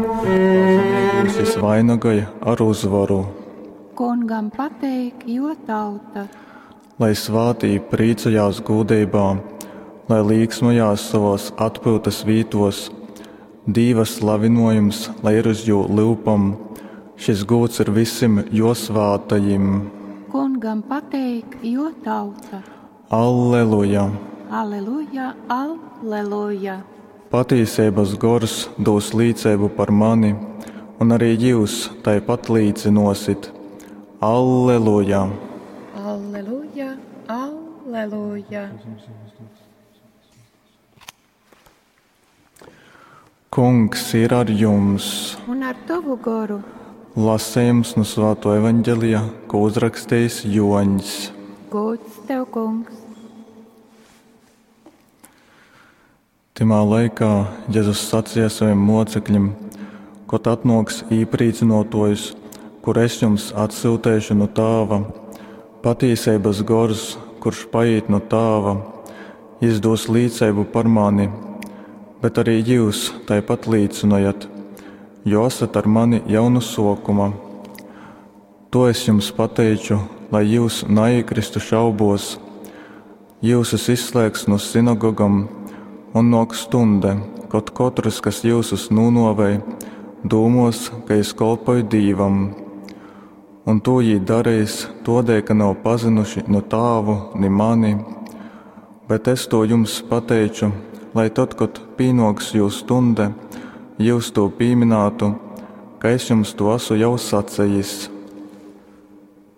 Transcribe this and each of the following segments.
Pazemeigūs jys vainagoj ar uzvaru. Kungam pateik jō tauta. Lai svātī prīcojās gūdeibā, lai līksmojās sovōs atpyutas vītōs. Dīva slavynōjums lai ir uz jū lyupom, šys gūds ir vysim jō svātajim. Kungam pateik jō tauta. Alleluja! Aleluja, aleluja! Patīseibas Gors dūs līceibu par mani, un arī jyus taipat līcynōsit. Alleluja! Alleluja, alleluja! Kungs ir ar jums! Un ar tovu goru! Lasejums nu Svātō Evaņgelija, ko uzrakstījis Joņs. Gods tev, Kungs! Tymā laikā Jezus saceja sovim mōcekļim: Kod atnōks Īprīcynōtōjs, kuru es jums atsyuteišu nu Tāva, patīseibas Gors, kurš paīt nu Tāva, jys dūs līceibu par mani, bet arī jyus taipat līcynojat, jo asat ar mani jau nu sōkuma. To es jums pateiču, lai jyus naīkristu šaubōs. Jyusus izslēgs nu sinagogom, un nōks stunde, kod kotrs, kas jyusus nūnōvej, dūmōs, ka jys kolpoj Dīvam. Un tū jī dareis tōdēļ, ka nav pazynuši nu Tāvu, ni mani. Bet es tū jums pateiču, lai tod, kod pīnōks jū stunde, jyus tū pīminātu, ka es jums tū asu jau sacejis.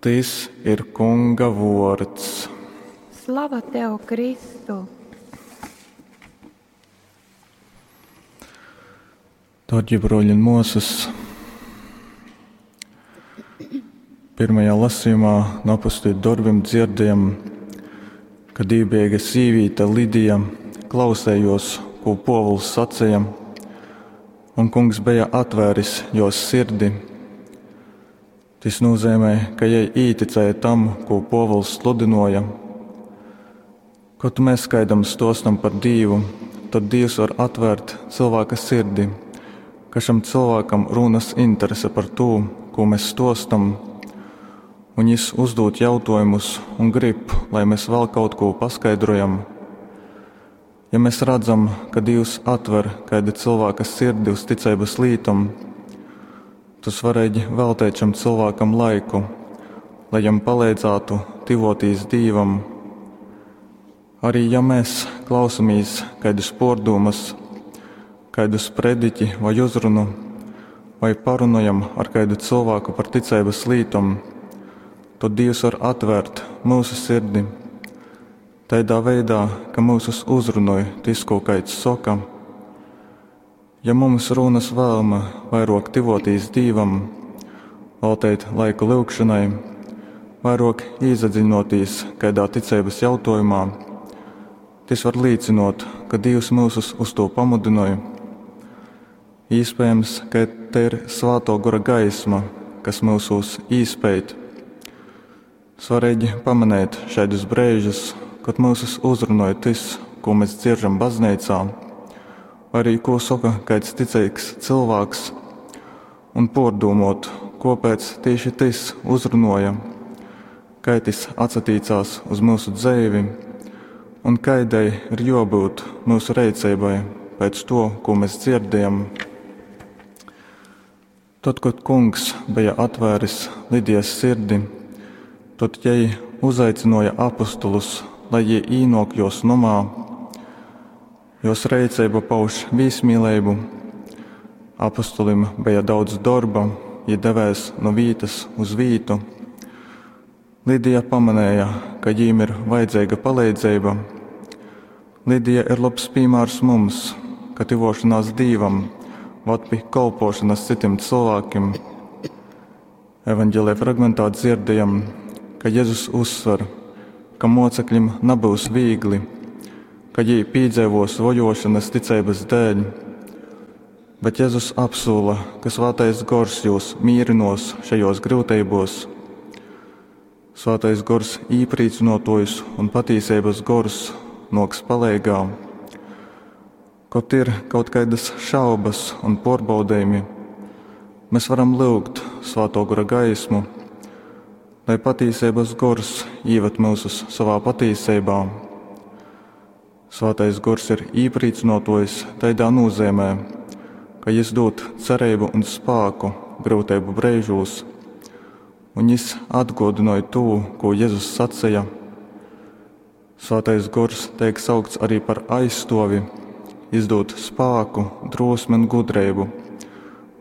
Tys ir Kunga vōrds. Slava tev, Kristu! Dārgie broļi un māsas, pirmajā lasījumā no apustuļu darbiem dzirdējam, ka dīvbijīga sīvīte Lidija klausējos, ko Pōvuls sacīja, un kungs bija atvēris jos sirdi. Tas nozīmē, ka jai īticēja tam, ko Pōvuls sludināja. Kad mēs kādam stostam par Dīvu, tad Dievs var atvērt cilvēka sirdi, ka šam cilvēkam rūnas interese par to, ko mēs stostam, un jis uzdod jautājumus un grib, lai mēs vēl kaut ko paskaidrojam. Ja mēs redzam, ka Dievs atver kāda cilvēka sirdi uz ticeibas lītom, tad svarīgi veltīt šam cilvēkam laiku, lai jam palīdzētu tivotīs Dīvam. Arī ja mēs klausamies kādus pordūmas, kaidu sprediķi vai uzrunu, vai parunojam ar kaidu cilvēku par ticeibas lītom, tad Dievs var atvērt mūsu sirdi tādā veidā, ka mūsus uzrunoj tis, ko kaids soka. Ja mums rūnas vēlme vairāk tivotīs Dīvam, veltīt laiku lūgšanai, vairāk iesadziļinoties kādā ticeibas jautājumā, tas var līcinot, ka Dievs mūsus uz to pamudināja. Iespējams, ka te ir Svāto Gora gaisma, kas mūsos īspēt. Svarīgi pamanīt šādus brīžus, kad mūsus uzrunāja tas, ko mēs dzieržam baznīcā, vai arī ko saka kāds ticīgs cilvēks, un pārdomot, kāpēc tieši tas uzrunāja, kā tas atsatīcās uz mūsu dzīvi, un kādai ir jābūt mūsu rīcībai pēc to, ko mēs dzirdējam. Tad, kad kungs bija atvēris Lidijas sirdi, tad jai uzaicināja apostulus, lai jie īnok jos nomā. Jos rīcība pauž vīsmīlību. Apostolim bija daudz darba, jie devēs no vītas uz vītu. Lidija pamanīja, ka viņiem ir vajadzīga palīdzība. Lidija ir labs piemērs mums, ka tuvošanās Dievam vad pie kalpošanas citiem cilvēkiem. Evanģēlijā fragmentā dzirdējam, ka Jēzus uzsver, ka mocekļiem nebūs viegli, ka viņi piedzīvos vojošanas ticības dēļ, bet Jēzus apsola, ka Svētais Gors jūs mīrinos šajos grūtībos. Svētais Gors īprīcinotojs un patīsības gors noks palīgā. Kod ir kaut kaidas šaubas un pārbaudījumi, mēs varam lyugt Svātō Gora gaismu, lai patīseibas gors īved mūsus savā patīseibā. Svātais Gors ir īprīcynōtōjs taidā nozīmē, ka jis dūd cereibu un spāku gryuteibu breižūs, un jis atgōdynoj tū, ko Jezus saceja. Svātais Gors teik saukts arī par aizstovi, jis dūd spāku, drosmi un gudreibu,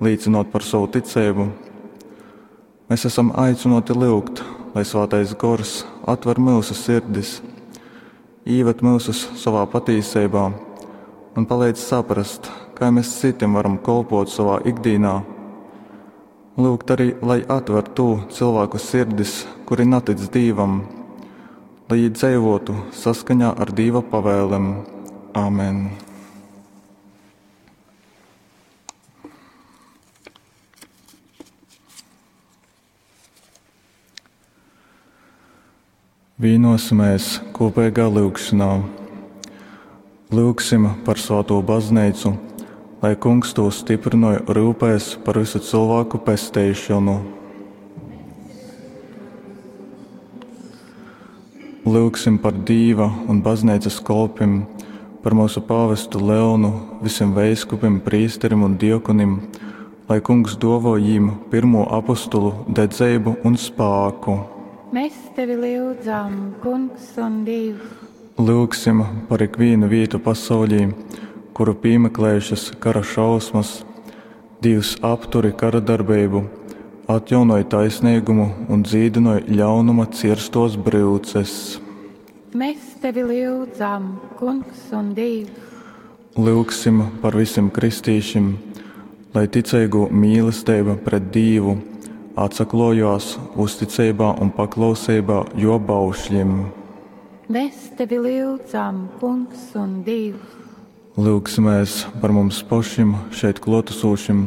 līcinot par savu ticību. Mēs esam aicināti lyugt, lai Svātais Gors atver mūsu sirdis, īved mūsus savā patīseibā un palīdz saprast, kā mēs citiem varam kolpot savā ikdienā. Lūgt arī, lai atver tū cilvēku sirdis, kuri natic Dīvam, lai viņi dzīvotu saskaņā ar Dīva pavēlēm. Āmen! Vīnosimies kopīgā lūgšanā. Lūgsim par Svēto baznīcu, lai Kungs to stiprinoja rūpēs par visu cilvēku pesteišanu. Lūgsim par Dīva un baznīcas kolpim, par mūsu pāvestu Leonu, visiem veiskupim, prīsterim un diekonim, lai Kungs dovo jīm pirmo apostulu dedzeibu un spāku. Mēs tevi lyudzam, Kungs un Dievs. Lūgsim par ikvienu vietu pasaulī, kuru piemeklējušas kara šausmas. Dievs apturi kara darbību, atjaunoj taisnīgumu un dzīdinoj ļaunuma cirstos bryuces. Mēs tevi lyudzam, Kungs un Dievs. Lūgsim par visiem kristīšiem, lai ticīgo mīlestība pret Dievu atsaklojās uzticībā un paklausībā jo baušļiem. Mēs tevi lyudzam, Kungs un Dievs. Lūgsimies par mums pašiem, šeit klātesošiem,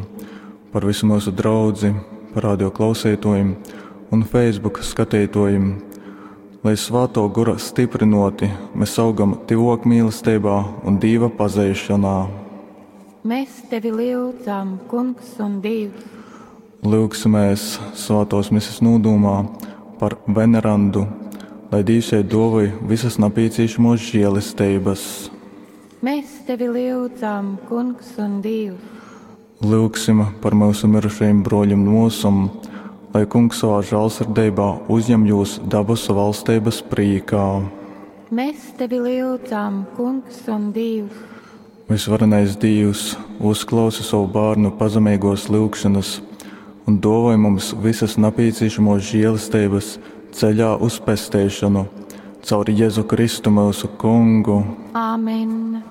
par visu mūsu draudzi, par radio klausītājiem un Facebook skatītājiem, lai Svāto Gora stiprinoti mēs augam tuvāk mīlestībā un Dieva pazeišanā. Mēs tevi lyudzam, Kungs un Dievs. Lūgsimies Svētos mises nūdūmā par venerandu, lai Dievs jai dovoj visas napīcīšamos žēlestības. Mēs tevi lyudzam, Kungs un Dievs. Lūgsim par mūsu mirušajiem broļiem mūsum, lai Kungs savā žēlsirdībā uzņem jūs dabasu valstības prīkā. Mēs tevi lyudzam, Kungs un Dievs. Visvarenais Dievs, uzklausi savu bērnu pazemīgos lūgšanas un dovoj mums visas napīcīšamos žēlestības ceļā uz pesteišanu caur Jēzu Kristu mūsu Kungu. Āmen.